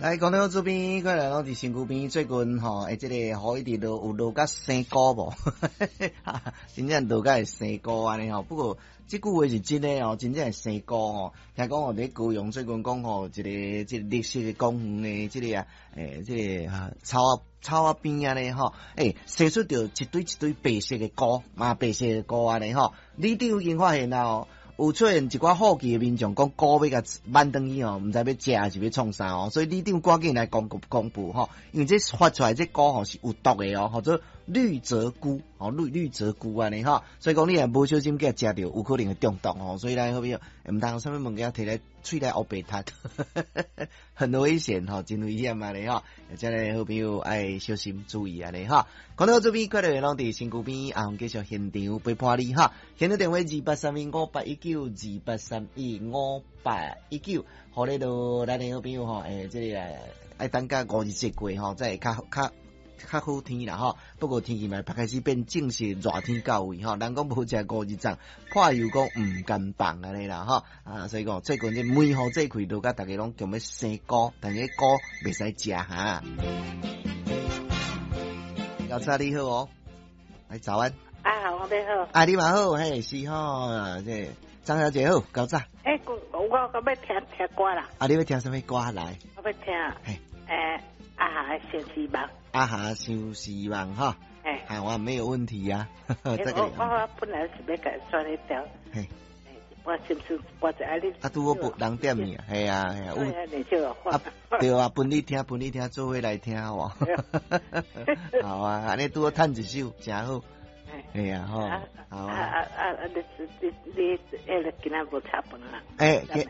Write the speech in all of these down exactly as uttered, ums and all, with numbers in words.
來，講到這邊，過來攏佇身軀邊，最近吼，欸，這个雨一直落，有落甲生菇無？真正落甲會生菇按呢吼。不過這句話是真的哦，真正會生菇吼。聽講哦，佇高雄最近講吼，一个這个綠色的公園的這个啊，欸，這个草仔草仔邊按呢吼，欸，生出著一堆一堆白色的菇，嘛白色的菇按呢吼。里長已經發現啦哦。有出現一寡好奇的民眾講菇欲共挽轉去吼，毋知欲食抑是欲創啥哦，所以里長趕緊來公布公布吼，因為這發出來這菇吼是有毒的哦，號做綠澤菇，吼綠綠澤菇按呢吼，所以講你若無小心共食著，有可能會中毒吼，所以咱好朋友毋通啥物物件提來喙內烏白窒，很危險吼，真危險按呢吼，遮个好朋友愛小心注意按呢吼。講到這邊，快樂攏佇身軀邊，阿紅繼續現場陪伴你哈。現場電話二八三一五八一九，二八三一五八一九，予你著咱的好朋友吼，欸，這個愛等甲五日節過吼，才會較較較好天啦吼。不過天氣嘛開始變正式熱天到位吼，人講無食五日粽，破油講毋甘放按呢啦吼。啊，所以講最近這梅雨這開落甲逐家攏強欲生菇，但是菇袂使食哈。老早你好哦，來早安。啊，我你好。啊，你嘛好，嘿，是吼，這張小姐好，較早。欸，我我我欲聽聽歌啦。啊，你欲聽啥物歌來？我欲聽。嘿。欸，阿霞的相思夢。阿霞相思夢哈。欸。好啊，沒有問題呀。我我本來是欲共選彼條。嘿。我是毋是我就愛你。啊，拄好別人點你，係啊係啊。啊，對啊，分你聽，分你聽，做伙來聽好無？好啊，按呢拄好趁一首，誠好。係啊，吼，好啊。啊啊啊！你你你，彼个今仔無炒飯啊？欸，今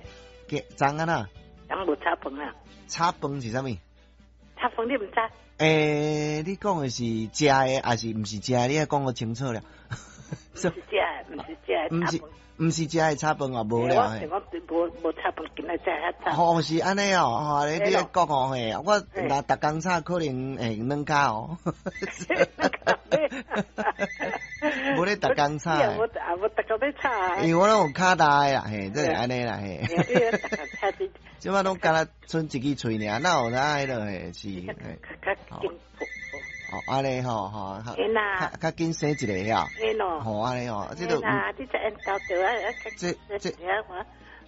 今昨昏啊？昨無炒飯啊？炒飯是啥物？炒飯你毋知？欸，你講的是食的，抑是毋是食的？你愛講予清楚了。毋是食的，毋是食的，毋是毋是食的炒飯哦，無了。我想講無無炒飯，今仔才遐早。吼，是按呢哦，吼，你你講哦嘿，我若逐工炒可能會軟跤哦。無咧逐工炒。也無也無逐工咧炒。因為我攏有跤力的啦，嘿，這是按呢啦，嘿。這擺攏干焦賰一支喙爾，哪有哪彼落嘿是。哦，按呢吼吼，較較緊生一个呀。吼，按呢吼，這都。你這緣投著啊，這這